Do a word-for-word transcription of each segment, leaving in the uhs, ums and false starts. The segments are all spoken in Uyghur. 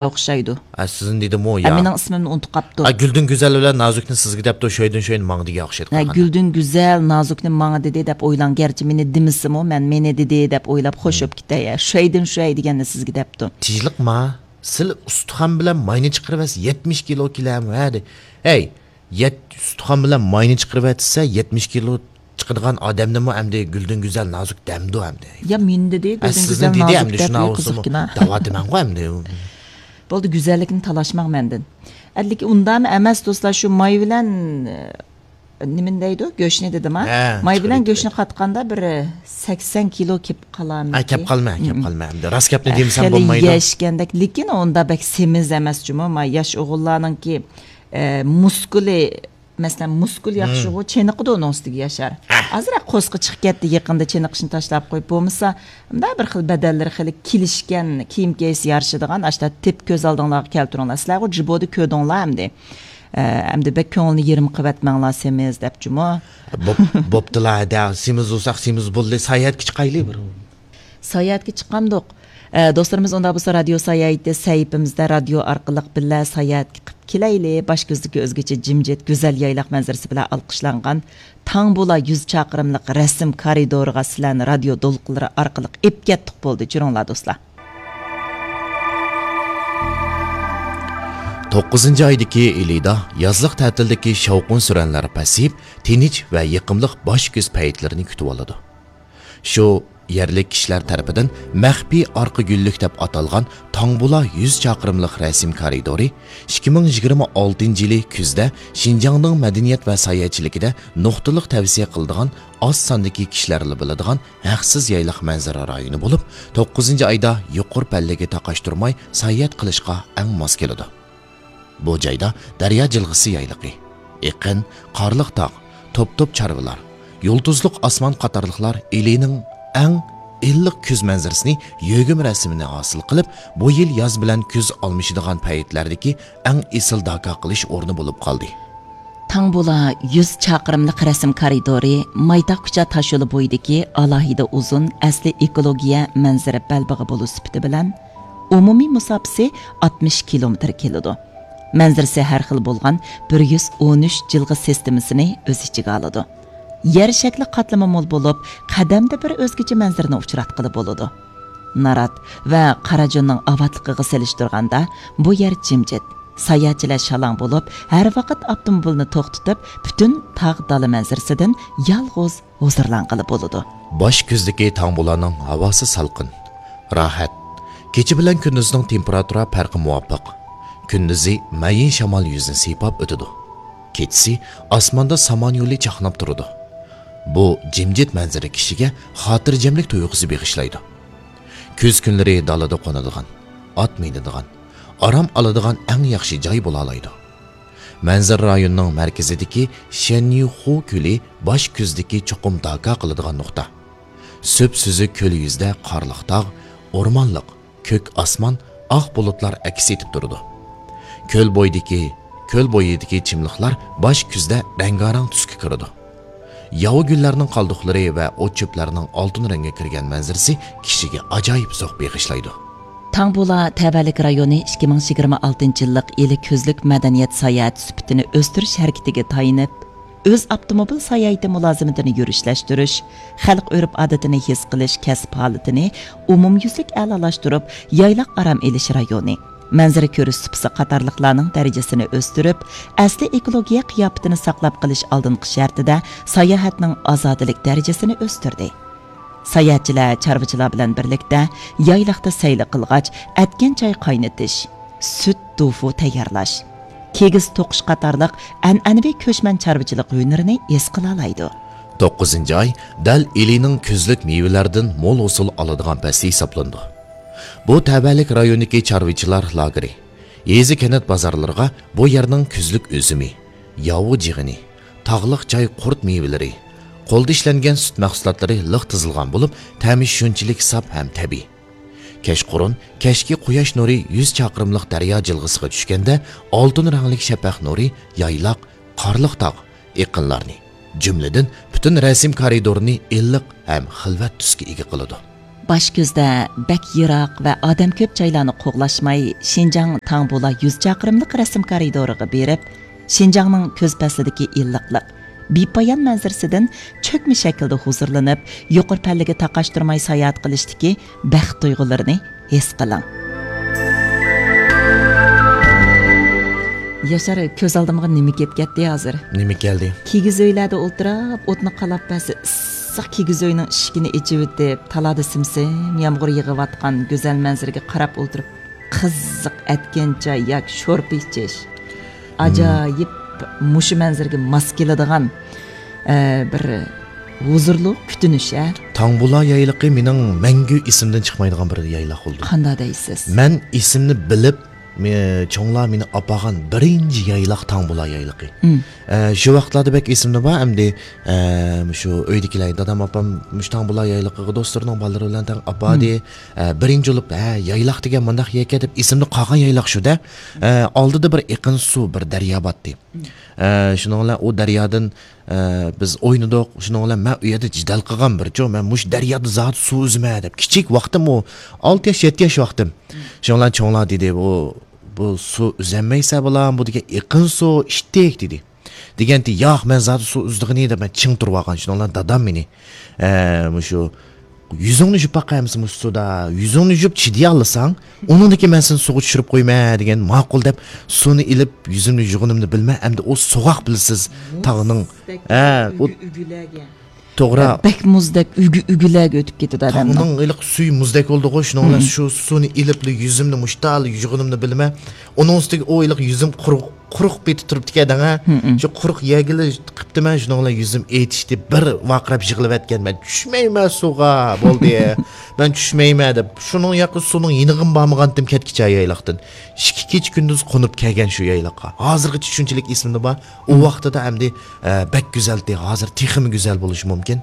ئوخشايدۇ. ھە، سىزنى دېدىمۇ، ھە، يا. مېنىڭ ئىسمىمنى ئۇنتۇپ قاپتۇ. ھە، گۈلدۈن گۈزەل بىلەن نازۇكنى سىزگە دەپتۇ، شۇيدىن شۇيدىن ماڭا دېگەن ئوخشايدۇ ھە، قاراڭ. گۈلدۈن گۈزەل نازۇكنى ماڭا دېدى دەپ ئويلاڭ، گەرچە مېنى دېمىسىمۇ، مەن مېنى دېدى دەپ ئويلاپ خوش بولۇپ كېتەي. ھە، شۇيدىن شۇي دېگەننى سىزگە دەپتۇ. تىنچلىقما، سىل ئۇستىخان بىلەن ماينى چىقىرىۋەرسە يەتمىش كىلو كېلەم، ھە، دە. ھەي، يەت، ئۇستىخان بىلەن ماينى چىقىرىۋەتسە يەتمىش كىلو چىقىدىغان ئادەمنىمۇ ئەمدى گۈلدۈن گۈزەل نازۇك دەمدۇ ئەمدى. يا مېنى دېدى، ھە، گۈلدۈن سىزنى گۈزەل دېدى نازۇك ئەمدى، دەپ، شۇنا يا بولسىمۇ قىزىقكىنا. دەۋاتىمەنغۇ ئەمدى. بولدى، گۈزەللىكنى تالاشماڭ مەندىن. ئەدىلىكى ئۇنداقمۇ ئەمەس، دوستلار، شۇ ماي بىلەن، ئە، نېمىنى دەيدۇ؟ گۆشنى دېدىما؟ ھە، ماي بىلەن چىقىرىپ گۆشنى قاتقاندا بىر، ئە، سەكسەن كىلو كېلىپ قالامىكى؟ ھە، كەپ قالما، كەپ قالما. ئەمدى راست گەپنى دېمىسەم خېلى بولمايدۇ. يەشكەندەك، لېكىن ئۇنداق بەك سېمىز ئەمەس جۇمۇ. ما ياش ئوغۇللارنىڭكى، ئە، مۇسكۇلى، مەسىلەن، مۇسكۇل ياخشىغۇ، چېنىقىدۇ ئۇنىڭ ئۈستىگە ياشار. ئازراق قورسىقى چىقىپ كەتتى، يېقىندا چېنىقىشنى تاشلاپ قويۇپ، بولمىسا، مۇنداق بىر خىل بەدەنلىرى خېلى كېلىشكەن، كىيىم كىيسە يارىشىدىغان، ئاشتا تېپىپ كۆز ئالدىڭلارغا كەلتۈرۈڭلار. سىلەرغۇ جىبودە كۆردۈڭلار ئەمدى. ئە، ئەمدى بەك كۆڭۈلنى يېرىم قىلىۋەتمەڭلار، سېمىز دەپ جۇمۇ. بوپ-، بوپتىلا، ھەدە، سېمىز بولساق سېمىز بولدى، ساياھەتكە چىقايلى بىر. ساياھەتكە چىقامدۇق؟ ئە، دوستلىرىمىز، ئۇنداق بولسا رادىيو ساياھىتى سەھىپىمىزدە رادىيو ئارقىلىق بىللە ساياھەتكە قىپ كېلەيلى. باش كۆزدىكى ئۆزگىچە جىمجىت، گۈزەل يايلاق مەنزىرىسى بىلەن ئالقىشلانغان تاڭبۇلا يۈز چاقىرىملىق رەسىم كارىدورىغا سىلەرنى رادىيو دولقۇنلىرى ئارقىلىق ئېپ كەتتۇق بولدى. جۈرۈڭلار، دوستلار. توققۇزىنچى ئايدىكى ئىلىدا يازلىق تەتىلدىكى شاۋقۇن-سۈرەنلەر پەسىيىپ، تىنچ ۋە يېقىملىق باش كۈز پەيتلىرىنى كۈتۈۋالىدۇ. شۇ يەرلىك كىشىلەر تەرىپىدىن مەخپىي ئارقا گۈللۈك دەپ ئاتالغان تاڭبۇلا يۈز چاقىرىملىق رەسىم كارىدورى ئىككى مىڭ يىگىرمە ئالتىنچى يىلى كۈزدە شىنجاڭنىڭ مەدەنىيەت ۋە ساياھەتچىلىكىدە نۇقتىلىق تەۋسىيە قىلىدىغان ئاز ساندىكى كىشىلەرلا بىلىدىغان ھەقسىز يايلاق مەنزىرە رايونى بولۇپ، توققۇزىنچى ئايدا يۇقىرى پەللىگە تاقاشتۇرماي ساياھەت قىلىشقا ئەڭ ماس كېلىدۇ. بۇ جايدا دەريا جىلغىسى يايلىقى، ئېقىن، قارلىق تاغ، توپ-توپ چارۋىلار، يۇلتۇزلۇق ئاسمان قاتارلىقلار ئىلىنىڭ ئەڭ ئىللىق كۈز مەنزىرىسىنى يۆگىمە رەسىمىنى ھاسىل قىلىپ، بۇ يىل ياز بىلەن كۈز ئالمىشىدىغان پەيتلەردىكى ئەڭ ئېسىل داكا قىلىش ئورنى بولۇپ قالدى. تاڭبۇلا يۈز چاقىرىملىق رەسىم كارىدورى مايتاق كۇچا تاشيولى بويىدىكى ئالاھىدە ئۇزۇن ئەسلى ئېكولوگىيە مەنزىرە بەلبېغى بولۇش سۈپىتى بىلەن، ئومۇمىي مۇساپىسى ئاتمىش كىلومېتىر كېلىدۇ. مەنزىرىسى ھەر خىل بولغان بىر يۈز ئون ئۈچ جىلغا سىستېمىسىنى ئۆز ئىچىگە ئالىدۇ. يەر شەكلى قاتلىمى مول بولۇپ، قەدەمدە بىر ئۆزگىچە مەنزىرىنى ئۇچراتقىلى بولىدۇ. نارات ۋە قاراجۇننىڭ ئاۋاتلىقىغا سېلىشتۇرغاندا، بۇ يەر جىمجىت. ساياھەتچىلەر شالاڭ بولۇپ، ھەر ۋاقىت ئاپتوموبىلنى توختىتىپ، پۈتۈن تاغ دالا مەنزىرىسىدىن يالغۇز ھۇزۇرلانغىلى بولىدۇ. باش كۈزدىكى تاڭبۇلانىڭ ھاۋاسى سالقىن، راھەت. كېچە بىلەن كۈندۈزنىڭ تېمپېراتۇرا پەرقى مۇۋاپىق. كۈندۈزى مەيىن شامال يۈزىنى سىيپاپ ئۆتىدۇ. كېچىسى ئاسماندا سامان يولى چاقناپ تۇرىدۇ. بۇ جىمجىت مەنزىرە كىشىگە خاتىرجەملىك تۇيغۇسى بېغىشلايدۇ. كۈز كۈنلىرى دالىدا قونىدىغان، ئات مىنىدىغان، ئارام ئالىدىغان ئەڭ ياخشى جاي بولالايدۇ. مەنزىرە رايونىنىڭ مەركىزىدىكى شەنيۈخۇ كۆلى باش كۈزدىكى چوقۇم داكا قىلىدىغان نۇقتا. سۈپسۈزۈك كۆل يۈزىدە قارلىق تاغ، ئورمانلىق، كۆك ئاسمان، ئاق بۇلۇتلار ئەكس ئېتىپ تۇرىدۇ. كۆل بويىدىكى، كۆل بويىدىكى چىملىقلار باش كۈزدە رەڭگارەڭ تۈسكە كىرىدۇ. ياۋا گۈللەرنىڭ قالدۇقلىرى ۋە ئوت-چۆپلەرنىڭ ئالتۇن رەڭگە كىرگەن مەنزىرىسى كىشىگە ئاجايىپ زوق بېغىشلايدۇ. تاڭبۇلا تەۋەلىك رايونى ئىككى مىڭ يىگىرمە ئالتىنچى يىللىق ئىلى كۈزلۈك مەدەنىيەت ساياھەت سۈپىتىنى ئۆستۈرۈش ھەرىكىتىگە تايىنىپ، ئۆز ئاپتوموبىل ساياھىتى مۇلازىمىتىنى يۈرۈشلەشتۈرۈش، خەلق ئۆرپ-ئادىتىنى ھېس قىلىش كەسىپ ھالىتىنى ئومۇميۈزلۈك ئەلالاشتۇرۇپ، يايلاق ئارام ئېلىش رايونى، مەنزىرە كۆرۈش سۇپىسى قاتارلىقلارنىڭ دەرىجىسىنى ئۆستۈرۈپ، ئەسلىي ئېكولوگىيە قىياپىتىنى ساقلاپ قېلىش ئالدىنقى شەرتىدە ساياھەتنىڭ ئازادىلىك دەرىجىسىنى ئۆستۈردى. ساياھەتچىلەر چارۋىچىلار بىلەن بىرلىكتە يايلاقتا سەيلە قىلغاچ، ئەتكەن چاي قاينىتىش، سۈت، توفۇ تەييارلاش، كىگىز توقۇش قاتارلىق ئەنئەنىۋى كۆچمەن چارۋىچىلىق ھۈنىرىنى ھېس قىلالايدۇ. توققۇزىنچى ئاي دەل ئىلىنىڭ كۈزلۈك مېۋىلەردىن مول ھوسۇل ئالىدىغان پەسلى ھېسابلىنىدۇ. بۇ تەۋەلىك رايونىدىكى چارۋىچىلار لاگېرى، يېزا-كەنت بازارلىرىغا بۇ يەرنىڭ كۈزلۈك ئۈزۈمى، ياۋا جىغىنى، تاغلىق جاي قۇرت مېۋىلىرى، قولدا ئىشلەنگەن سۈت مەھسۇلاتلىرى لىق تىزىلغان بولۇپ، تەمى شۇنچىلىك ساپ ھەم تەبىئىي. كەچقۇرۇن كەچكى قۇياش نۇرى يۈز چاقىرىملىق دەريا جىلغىسىغا چۈشكەندە، ئالتۇن رەڭلىك شەپەق نۇرى يايلاق، قارلىق تاغ، ئېقىنلارنى، جۈملىدىن پۈتۈن رەسىم كارىدورىنى ئىللىق ھەم خىلۋەت تۈسكە ئىگە قىلىدۇ. باش كۆزدە بەك يىراق ۋە ئادەم كۆپ جايلارنى قوغلاشماي، شىنجاڭ تاڭبۇلا يۈز چاقىرىملىق رەسىم كارىدورىغا بېرىپ، شىنجاڭنىڭ كۈز پەسلىدىكى ئىللىقلىق، بىپايان مەنزىرىسىدىن چۆكمە شەكىلدە ھۇزۇرلىنىپ، يۇقىرى پەللىگە تاقاشتۇرماي ساياھەت قىلىشتىكى بەخت تۇيغۇلىرىنى ھېس قىلىڭ. ياشار، كۆز ئالدىمغا نېمە كېلىپ كەتتى ھازىر؟ نېمە كەلدى؟ كىگىز ئۆيلەردە ئولتۇرۇپ، ئوتنى قالاپ بەرسە، ئىسسىق كىگىز ئۆينىڭ ئىشىكىنى ئېچىۋېتىپ، تالادا سىم-سىم يامغۇر يېغىۋاتقان گۈزەل مەنزىرىگە قاراپ ئولتۇرۇپ، قىزىق ئەتكەن چاي ياكى شورپا ئىچىش. ئاجايىپ مۇشۇ مەنزىرىگە ماس كېلىدىغان، ئە، بىر ھۇزۇرلۇق كۈتۈنۈش، ھە؟ تاڭبۇلا يايلىقى مېنىڭ مەڭگۈ ئېسىمدىن چىقمايدىغان بىر يايلاق بولدى. قانداق دەيسىز؟ مەن ئېسىمنى بىلىپ، مې-، چوڭلار مېنى ئاپارغان بىرىنچى يايلاق تاڭبۇلا يايلىقى. ئە، شۇ ۋاقىتلاردا بەك ئېسىمدە بار ئەمدى، ئە، مۇشۇ ئۆيدىكىلەر، دادام، ئاپام مۇشۇ تاڭبۇلا يايلىقىغا دوستلىرىنىڭ بالىلىرى بىلەن تەڭ ئاپاردى. ئە، بىرىنچى بولۇپ، ھە، يايلاق دېگەن مۇنداق يەركەن دەپ ئېسىمدە قالغان يايلاق شۇ-دە. ئە، ئالدىدا بىر ئېقىن سۇ، بىر دەريا بارتتى. ئە، شۇنىڭ بىلەن ئۇ دەريادىن، ئە، بىز ئوينىدۇق. شۇنىڭ بىلەن مەن ئۇ يەردە جېدەل قىلغان بىرچۇ، مەن مۇشۇ دەريادا زادى سۇ ئۈزىمەن دەپ. كىچىك ۋاقتىم ئۇ، ئالتە ياش، يەتتە ياش ۋاقتىم. شۇنىڭ بىلەن چوڭلار دېدى، بۇ، بۇ سۇ ئۈزەلمەيسەن بالام، بۇ دېگەن ئېقىن سۇ، ئىتتىك دېدى. دېگەنتى، ياق، مەن زادى سۇ ئۈزىدىغىنى دەپ مەن چىڭ تۇرۇۋالغان. شۇنىڭ بىلەن دادام مېنى، ئە، مۇشۇ يۈزۈڭنى يۇيۇپ باقاي ئەمىسە مۇشۇ سۇدا. يۈزۈڭنى يۇيۇپ چىدىيالىساڭ، ئۇنىڭدىن كېيىن مەن سېنى سۇغا چۈشۈرۈپ قويىمەن دېگەن. ماقۇل دەپ سۇنى ئېلىپ يۈزۈمنى يۇغىنىمنى بىلمەي، ئەمدى ئۇ سوغۇق بىلىسىز تاغنىڭ. مۇزدەك ھە، ئۇ ئۈگە-، ئۈگىلەرگە. توغرا. بەك مۇزدەك ئۈگە-، ئۈگىلەرگە ئۆتۈپ كېتىدۇ ئادەمنىڭ. تاغنىڭ ھېلىقى سۈيى مۇزدەك بولدىغۇ، شۇنىڭ بىلەن شۇ سۇنى ئېلىپلا يۈزۈمنى مۇشتال يۇغىنىمنى بىلمەي، ئۇنىڭ ئۈستىگە ئۇ ھېلىقى يۈزۈم قۇرۇق قۇرۇق پېتى تۇرۇپتىكەن دەڭە. شۇ قۇرۇق يەرگىلا قىپتىمەن، شۇنىڭ بىلەن يۈزۈم ئېتىشتى، بىر ۋارقىراپ يىغلىۋەتكەن مەن. چۈشمەيمەن سۇغا، بولدى. مەن چۈشمەيمەن دەپ، شۇنىڭ ياقى سۇنىڭ يېنىغىمۇ بارمىغانتىم كەتكىچە يايلاقتىن. ئىككى كېچە كۈندۈز قونۇپ كەلگەن شۇ يايلاققا. ھازىرغىچە شۇنچىلىك ئېسىمدە بار. ئۇ ۋاقتىدا ئەمدى، ئە، بەك گۈزەلتى. ھازىر تېخىمۇ گۈزەل بولۇشى مۇمكىن.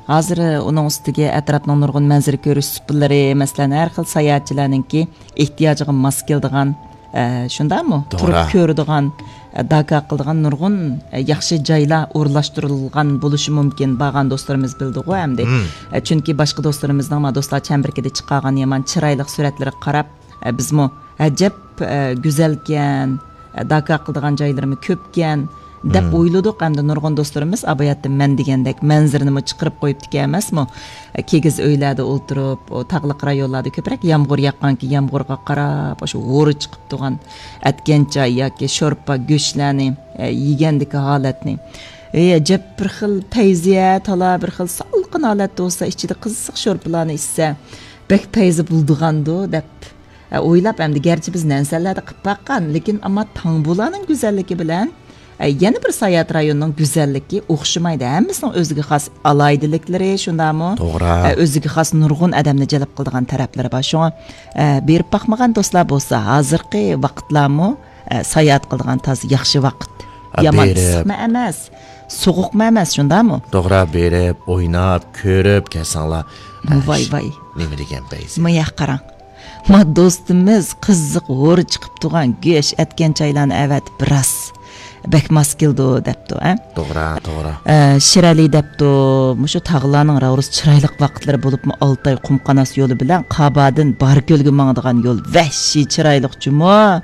ھازىر ئۇنىڭ ئۈستىگە ئەتراپنىڭ نۇرغۇن مەنزىرە كۆرۈش سۇپىلىرى، مەسىلەن، ھەر خىل ساياھەتچىلەرنىڭكى ئېھتىياجىغا ماس كېلىدىغان، ئە، شۇنداقمۇ؟ توغرا. تۇرۇپ كۆرىدىغان، ئە، داكا قىلىدىغان نۇرغۇن، ئە، ياخشى جايلار ئورۇنلاشتۇرۇلغان بولۇشى مۇمكىن، بارغان دوستلىرىمىز بىلىدىغۇ ئەمدى. ئە، چۈنكى باشقا دوستلىرىمىزنىڭ ما دوستلار چەمبىرىكىدە چىقارغان يامان چىرايلىق سۈرەتلىرىگە قاراپ، ئە، بىزمۇ ئەجەب، ئە، گۈزەلكەن، ئە، داكا قىلىدىغان جايلىرىمۇ كۆپكەن، دەپ ئويلىدۇق. ئەمدى نۇرغۇن دوستلىرىمىز ئاباياتتىن مەن دېگەندەك مەنزىرىنىمۇ چىقىرىپ قويۇپتىكەن ئەمەسمۇ؟ كىگىز ئۆيلەردە ئولتۇرۇپ، ئۇ تاغلىق رايونلاردا كۆپرەك يامغۇر ياغقانكى، يامغۇرغا قاراپ، ئاشۇ ھورا چىقىپ تۇرغان ئەتكەن چاي ياكى شورپا گۆشلەرنى، ئە، يېگەندىكى ھالەتنى. ئەي، ئەجەب بىر خىل پەيزىيە، تالا بىر خىل سالقىن ھالەتتە بولسا، ئىچىدە قىزىق شورپىلارنى ئىچسە، بەك پەيزى بولىدىغاندۇ، دەپ ئە، ئويلاپ ئەمدى، گەرچە بىز نەنسەنلەردە قىپ باققان، لېكىن ئەمما تاڭبۇلانىڭ گۈزەللىكى بىلەن، ئە، يەنە بىر ساياھەت رايونىنىڭ گۈزەللىكى ئوخشىمايدۇ. ھەممىسىنىڭ ئۆزىگە خاس ئالاھىدىلىكلىرى، شۇنداقمۇ؟ توغرا. ئە، ئۆزىگە خاس نۇرغۇن ئادەمنى جەلپ قىلىدىغان تەرەپلىرى بار. شۇڭا، ئە، بېرىپ باقمىغان دوستلار بولسا، ھازىرقى ۋاقىتلارمۇ، ئە، ساياھەت قىلىدىغان تازا ياخشى ۋاقىت. ئە، يامان بېرىپ ئىسسىقمۇ ئەمەس، سوغۇقمۇ ئەمەس، شۇنداقمۇ؟ توغرا، بېرىپ، ئويناپ، كۆرۈپ كەلسەڭلار. ئە، ۋاي، ۋاي. نېمە دېگەن پەيزى؟ ماياق قاراڭ. ما دوستىمىز قىزىق ھورا چىقىپ تۇرغان گۆش ئەتكەن چايلارنى ئەۋەتىپ، راست بەك ماس كېلىدۇ دەپتۇ، ھە؟ توغرا، توغرا. ئە، شىرئەلى دەپتۇ، مۇشۇ تاغلارنىڭ راۋۇرۇس چىرايلىق ۋاقىتلىرى بولۇپمۇ ئالتاي قۇمقاناس يولى بىلەن قابادىن باركۆلگە ماڭىدىغان يول ۋەھشىي چىرايلىق جۇمۇ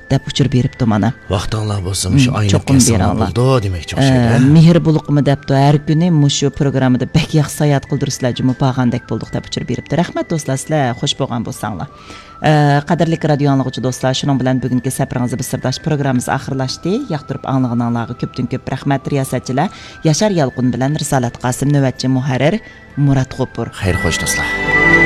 دەپ ئۇچۇر بېرىپتۇ مانا. ۋاقتىڭلار بولسا مۇشۇ ئايلىق چوقۇم كەلسەڭلار بولىدۇ دېمەكچى ئوخشايدۇ، ھە؟ مېھىر بۇلىقىمۇ دەپتۇ، ھەر كۈنى مۇشۇ پروگراممىدا بەك ياخشى ساياھەت قىلدۇرىسىلەر جۇمۇ، بارغاندەك بولدۇق دەپ ئۇچۇر بېرىپتۇ. رەھمەت دوستلار، سىلەر خوش بولغان بولساڭلار. ئە، قەدىرلىك رادىيو ئاڭلىغۇچى دوستلار، شۇنىڭ بىلەن بۈگۈنكى سەپىرىڭىز بىر سىرداش پروگراممىسى ئاخىرلاشتى. ياقتۇرۇپ ئاڭلىغىنىڭلارغا كۆپتىن كۆپ رەھمەت. رىياسەتچىلەر ياشار يالقۇن بىلەن رىسالەت قاسىم، نۆۋەتچى مۇھەررىر مۇرات غوپۇر. خەير خوش دوستلار.